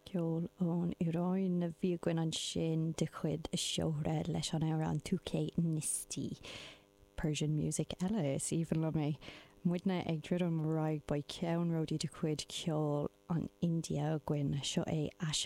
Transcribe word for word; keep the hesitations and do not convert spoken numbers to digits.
Ceol ón Iaráin a bhí againn ansin de chuid Shohreh leis an amhrán Tu Key Nisti. Persian music eile is aoibhinn liom é. Muidne ag druidim ar aghaidh beidh ceannródaí de chuid ceol an India againn seo é Asha